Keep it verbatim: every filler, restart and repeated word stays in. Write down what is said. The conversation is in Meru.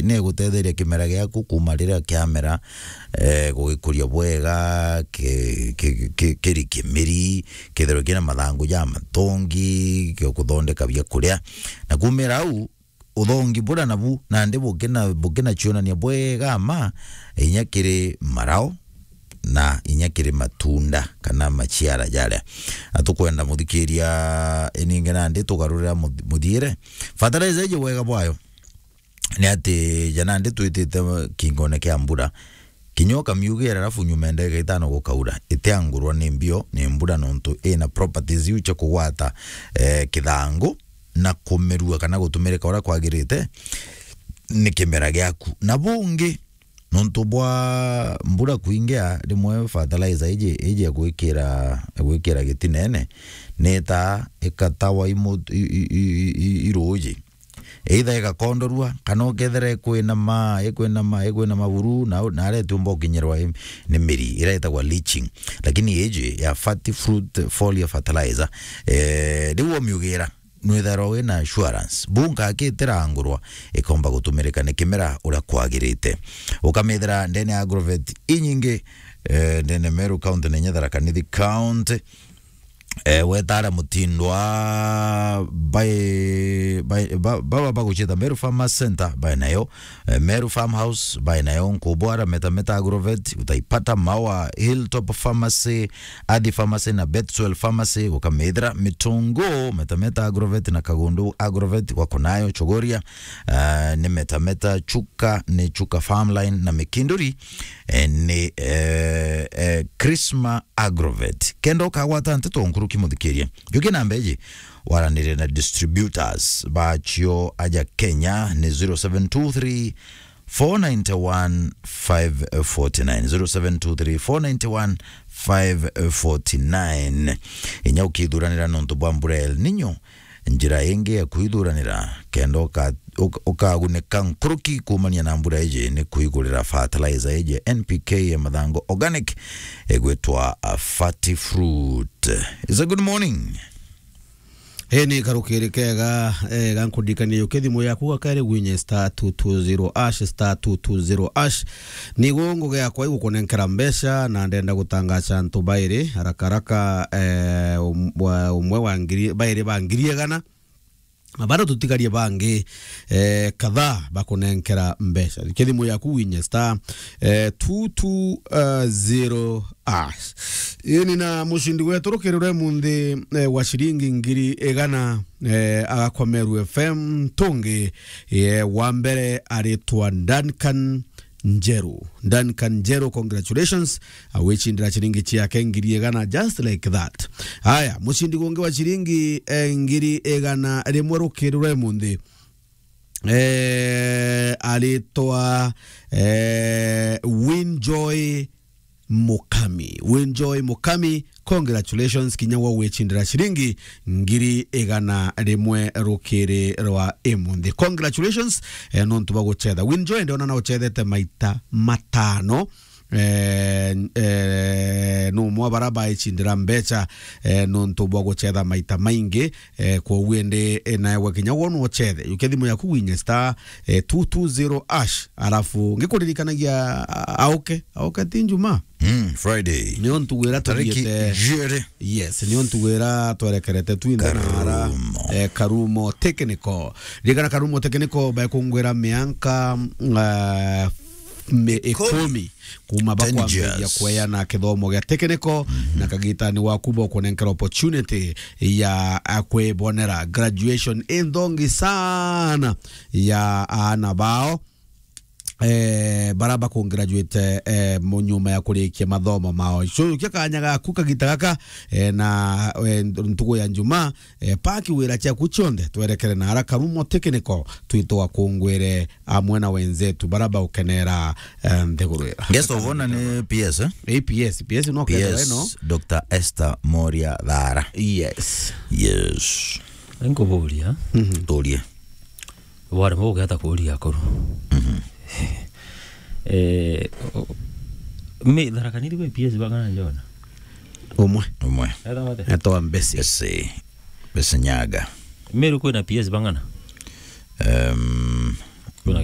ni igutetheria kimera giaku kuma riria kiamera, eh, gugikuria bwega, ki-, ki-, ki-, kiri kimiri, kethirwe kina mathangu ja matongi, gikuthondeka bia kuria. Na kumira au, uthongi buria nabu nandi bukina-, bukinacionania bwega ma, inya kiri marao, na inya kiri matunda kana maciara jaria. Na tukwenda muthikiria iningi nandi tugarurira muth-, muthiire. Fertilizer iji wega bwayo ni ati ja nandi twitite kingone kia mbura, kinya ukamiugera, alafu nyuma ya ndagika itano gukaura, itiangurwa ni mbio ni mbura, nontu ina properties iu cia kugwata, eh, kithangu na kumirua kana gutumirika uria kwagirite ni kimera giaku. Na bungi, nontu bwa mbura kuingia, rimwe fertilizer iji, iji ya gwikira, gwikira gitinene, ni ta ikatawa imu-, i-, i-, i-, i-, i-, iruji. Either igakondorua, kana ukethira ikwinama, ikwinama, ikwinama buru, na, na aria itiumba gukinyirwa i-, ni miri, iria itagwa leaching. Lakini iji ya Fertifruit Foliar Fertilizer, eh, riu umiugira, nwithairwa wina assurance. Bunka akitirangurwa, ikomba gutumirika ni kimera uria kwagirite. Ukamithira ndene ya agrovet inyingi, eh, ndene Meru County na inya Tharaka Nithi County. Eh, wetara mutindwa bai, bai, ba-, baba bagucita Meru Farmers Center, bai nayo, eh, Meru Farmhouse, bai nayo, Nkubwara, Meta Meta Agrovet, utaipata Maua, Hilltop Pharmacy, Athi Pharmacy na Betswell Pharmacy, ukamithira Mitungu, Meta Meta Agrovet na Kagundu Agrovet, wako nayo Chogoria, eh, ni Meta Meta, Chuka, ni Chuka Farmline na Mikinduri, eh, ni, eh, eh, Krisma Agrovet. Kenda ukagwata nteto nkuruki muthikiria. Juki na mbeji, waranire na distributors bacio aja Kenya ni zero seven two three, four nine one, five forty nine, zero seven two three, four nine one, five forty nine. Inya ukithuranira nontu bwa mbura ya El Nino, njira ingi ya kwithuranira kenda uka-, uka-, ukagunika nkuruki kumania na mbura iji ni kuigurira fertilizer iji ya N P K ya mathangu organic igwitwa, uh, Fertifruit. It's a good morning. Ii ni karukiri kega, eh, ga nkundikania uke thimu yaku gakairi gwinye star two two zero hash, star two two zero hash. Nigu ngugi yakwa igukunenkera mbeca, na ndenda gutangaca antu bairi haraka haraka, eh, um-, wa-, umwe wa ngiri, bairi ba ngiri igana, na bado tutigarie bangi, eh, kadhaa bakunenkera mbeca. Thikia thimu yaku winye star, eh, two two zero hash. Ini na mucindi wetu rukiri rwe munthi, eh, wa ciringi ngiri igana, eh, agakwa Meru F M tungi, eh, wa mbere aritwa Duncan Njeru. Duncan Njeru, congratulations. Awicindira ciringi ciake ngiri igana just like that. Haya, mucindi gungi wa ciringi, eh, ngiri igana rimwe rukiri rwe munthi, eh, aritwa, eh, Winjoy Mukami. Winjoy Mukami, congratulations, kinya wa gwicindira ciringi ngiri igana rimwe rukiri rwa imunthi. Congratulations, eh, nontu bwa gucetha. Winjoy, ndiona na ucethete maita matano. Eh, eh, numwe wa bara baicindira mbeca, eh, nontu bwa gucetha maita maingi. Eh, kwoguo indi, eh, nawe kinya wona ucethe, yukia thimu yaku winye star, eh, two two zero hash, alafu ngikuririkanagia, a-, auke, auke ti Njuma. Mm, Friday. Nio ntugwira tariki tugiete jiri. Yes, nio ntugwira twerekerete twinthe na ara, Karumo. Eh, Karumo Technical. Ririkana Karumo Technical baikungwira mianka, eh, mi-, ikumi. Ikumi. Kuma bakwambiria kweana kithomo gia technical, na kagitani waku bokunenkera opportunity ya, a, kwibonera graduation inthongi sana ya aana bao, eh, bara bakungraduate, eh, mu-, nyuma ya kurikia mathomo mao. So, kia kanya gaku kagita gaka, eh, na, eh, ntugu ya Njuma, eh, paki wira ciaku cionthe, twerekere na ara Karumo Technical, twitwa kungwire amwe na wenzetu bara baukenera, eh, nthiguru ira. Guest of honor ni P S, eh? Eh, P S, P S no kethira ino. P S, Doctor Esther Moria Thara. Yes. Yes. Nkuburia. Mhm. Turie. Bwari mugeta kuria akuru. Mhm. Eh, o-, mi Tharaka Nithi gwi P S bang'ana njona? Umwe. Umwe. Etwa ate? Etwa Mbesi. Mbesi. Mbesi Nyaga. Meru kwina P S bang'ana? Em, kwina ba-,